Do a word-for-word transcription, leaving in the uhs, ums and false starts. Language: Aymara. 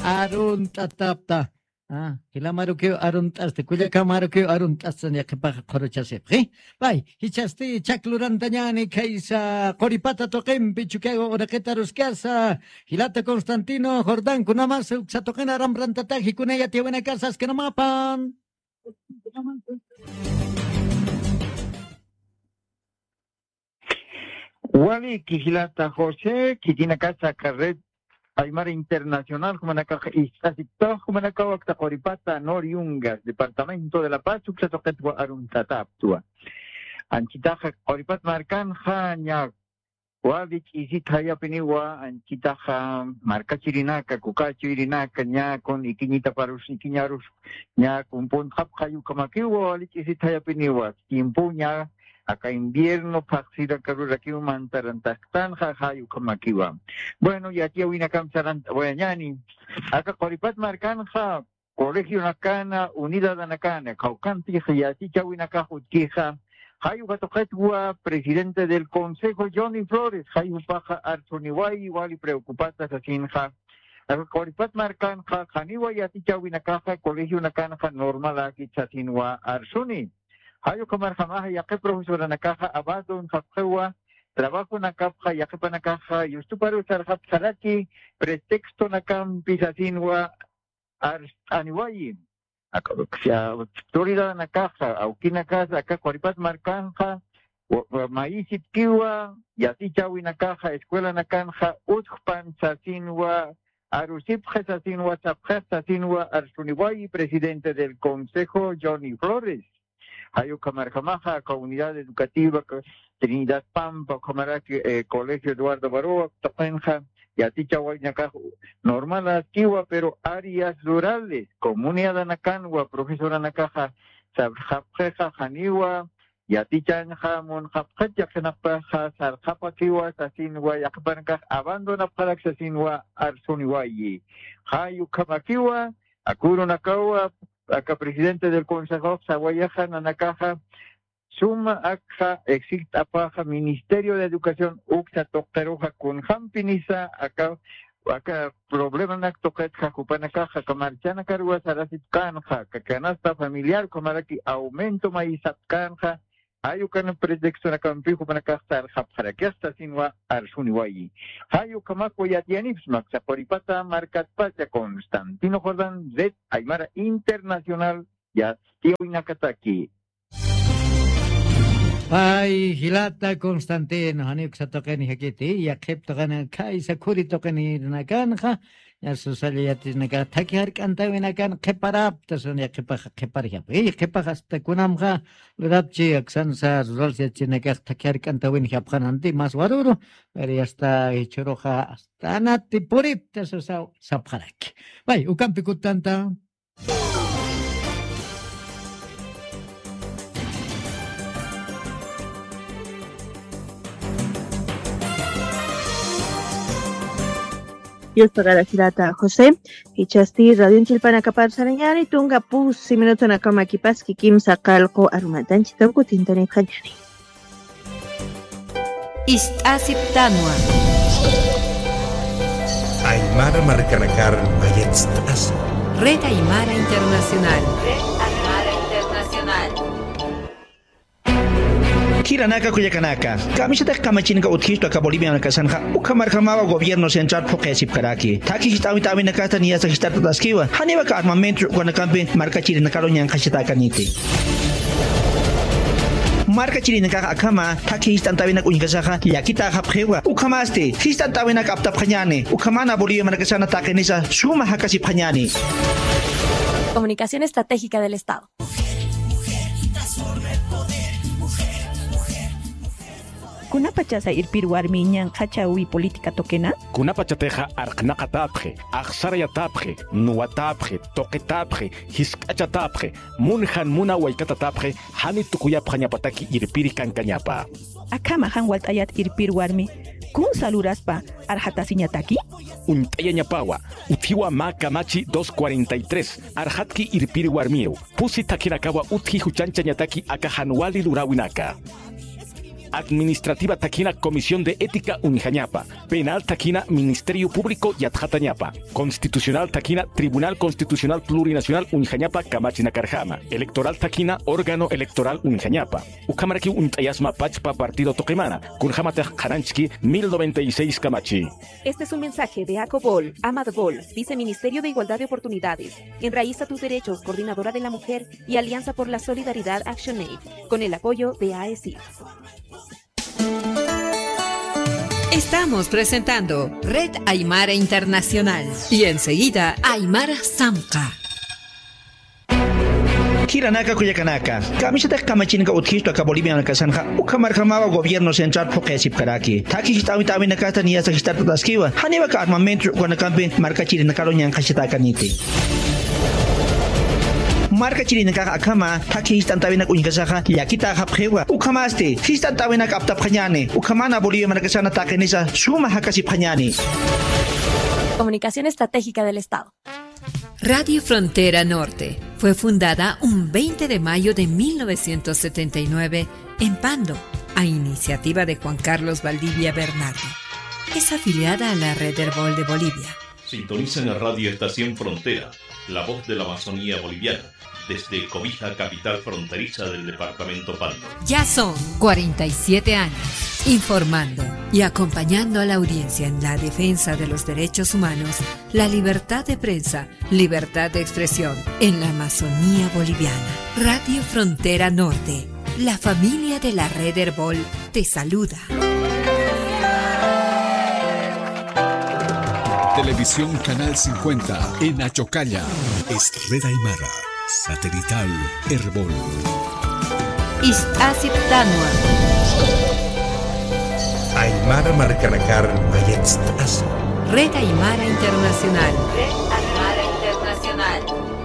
arunt'atapta. Ah, jilamarukiw arunt'asta, kullakamarukiw arunt'asta, ña qhipaxa qhuruchasipxi. Pay, jichhasti chak lurantañani khaysa quripata tuqimpi Chukiyawu uraqita aruskasa, jilata Constantino Jordán, kunamas uksa tuqina aramrantataki, kuna yatiyawinakasa askinamapan. Wali, jilata José, khitinakasa aka Red Aymara Internacional, jumanakax ist'asiptawa, jumanakaw aksa quripata Nor Yungas, departamento de La Paz, uksa tuqitwa arunt'ataptwa. Anchitaxa quripat markanxa ña wali ch'isit jayapiniwa, anchitaxa markachirinaka, kukachirinaka, ña kun ikiñitaparus, ikiñarus, ña kun puntxapxay ukhamakiwa, wali ch'isit jayapiniwa, tiempo ña aka invierno phaxsirakarurakiw mantarantaxtanxa, jay ukhamakiwa. Bueno, yatiyawinakamp sarant'awayañani, aka quripat markanxa, colegionakana, unidadanakana, kawkantix yatichäwinakax utjixa, jay uka tuqitwa presidente del Consejo Johnny Flores, jay jupaxa arsuniwayi, wali preocupata sasinxa. Aka quripat markanxa, janiwa yatichäwinakaxa, colegionakanxa normaläkit sasinwa arsuni. Jay ukhamarjamaxa yaqhip profesoranakaxa abandonxapxiwa, trabajonakapxa yaqhipanakaxa yustuparu sarxapxaraki, pretextonakampi sasinwa arst'aniwayi. Aka, aka, autoridadanakaxa, awkinakasa, aka quripat markanxa, wa-, wa-, mayisipkiwa, yatichäwinakaxa, escuelanakanxa, utjpan sasinwa, arusipxi sasinwa, sapxix sasinwa, arsuniwayi presidente del Consejo, Johnny Flores. Jay ukhamarjamaxa, aka unidad educativa, aka Trinidad Pampa, ukhamaraki, eh, Colegio Eduardo Baroa, tuqinxa, yatichäwinakax normaläskiwa, pero áreas rurales, comunidadanakanwa, profesoranakaxa, sarxapxixa, janiwa, yatichañxa, munxapxit, yaqhinaqpaxa, sarxapakiwa, sasinwa, yaqhipanakax, abandonapxarak, sasinwa, arsuniwayi. Jay ukhamakiwa, aka urunakawa, aka presidente del Consejo, sawayaxa, nanakaxa, suma akxa, exigt'apaxa, Ministerio de Educación, uksa tuqiruxa, kunjampinisa, aka, aka problemanak tuqitxa, jupanakaxa, aka marchanakaruwa sarasipkänxa, aka canasta familiar, ukhamaraki aumento mayisapkänxa, jay ukan pretextonakampi, jupanakax sarxapxarakix sasinwa, arsuniwayi. Jay ukhamakwa yatiyanipxsma, aksa quripata markatpacha, Constantino Jordán, Red Aymara Internacional, yatiyäwinakataki. Pay, jilata Constantino, janiw uksa tuqini jakiti, yaqhip tuqini, khaysa khuri tuqinirinakanxa, ña susalla yatirinakax, thakhi jark'antäwinakan qhiparapta, sasa yaqhipaxa qhiparjapxi. Iy, qhipaxa hasta kunamxa lurapchi, aksansa, rural yatichinakax thakhi jark'antäwinjapxananti, mas waruru, pero ya está, jichhüruxa, hasta anati puripta, sasa, sapxaraki. Pay, ukampi kutanta. Dios pagarasirata José, jichhasti radio chillpanakapar sarañäni, tunka pusi minutonakamakipas kimsa qallqu arumatanchis kawkutintanipxañäni. Ist'asiptanwa. Aymara markanakar mayatst'asa. Red Aymara Internacional. Red Aymara Internacional. Jilanaka kullakanaka, kamisataki kamachinaka utjistu aka Bolivianakasanxa, ukhamarjamawa gobierno central phuqhayasipkaraki. Thakhi jist'awint'awinakasta niyasa jist'artataskiwa, janiwa aka armamento ukanakampi markachirinakaru ñanqhachatäkaniti. Markachirinakax akhama thakhi jist'antäwinak uñjkasaxa llakitäxapxiwa. Ukhamasti jist'antäwinak aptapxañäni. Ukhamana Bolivia markasana taqinisa suma jakasipxañäni. Comunicación Estratégica del Estado. Kunapachasa irpir warmi ñanqhachawi política tuqina? Kunapachatixa arqnaqatäpxi, axsarayatäpxi, nuwatäpxi, tuqitäpxi, jisk'achatäpxi, mun jan muna waykatäpxi, jani tukuyapxañapataki irpiri kankañapa. Akhama jan walt'ayät irpir warmi, kunsa luraspa arxatasiñataki? Uñt'ayañapawa, utjiwa mä kamachi dos cuarenta y tres, arxatki irpir warmiw, pusi thakhinakawa utji juchanchañataki aka jan wali luräwinaka. Administrativa thakina Comisión de Ética uñjañapa. Penal thakina Ministerio Público yatxatañapa. Constitucional thakina Tribunal Constitucional Plurinacional uñjañapa kamachinakarjama. Electoral thakina órgano electoral uñjañapa. Ukhamarakiw uñt'ayasma pachpa partido tuqimana, kunjämatix qhananchki mil noventa y seis kamachi. Este es un mensaje de ACOBOL, AMADBOL, Viceministerio de Igualdad de Oportunidades, Enraiza tus Derechos, Coordinadora de la Mujer y Alianza por la Solidaridad ActionAid, con el apoyo de AECIF. Estamos presentando Red Aymara Internacional y enseguida Aymara Samqa. Jilanaka, kullakanaka, kamisatix kamachirinaka utjistu aka Bolivianakasanxa, ukhamarjamawa gobierno central phuqhisipkaraki. Thakhi jist'awit'awinakasta niyasa jist'artataskiwa, janiwa aka armamento ukanakampi markachirinakaru ñanqhachatakaniti. Markachirinakax akhama thakhi jist'ant'awinak uñkasaxa llakitäxapxiwa. Ukhamasti jist'ant'awinak aptapxañäni, ukhamana Bolivia markasana taqinisa suma jakasipxañäni. Comunicación Estratégica del Estado. Radio Frontera Norte fue fundada un veinte de mayo de mil novecientos setenta y nueve en Pando, a iniciativa de Juan Carlos Valdivia Bernardo. Es afiliada a la Red Erbol de Bolivia. Sintonizan a Radio Estación Frontera, la voz de la Amazonía boliviana, desde Cobija, capital fronteriza del departamento Pando. Ya son cuarenta y siete años informando y acompañando a la audiencia en la defensa de los derechos humanos, la libertad de prensa, libertad de expresión en la Amazonía boliviana. Radio Frontera Norte, la familia de la Red Erbol te saluda. Televisión Canal cincuenta en Achocalla. Es Red Aymara, satelital Erbol. Ist'asiptanwa. Aymara markanakar mayatst'asa. Red Aymara Internacional. Red Aymara Internacional.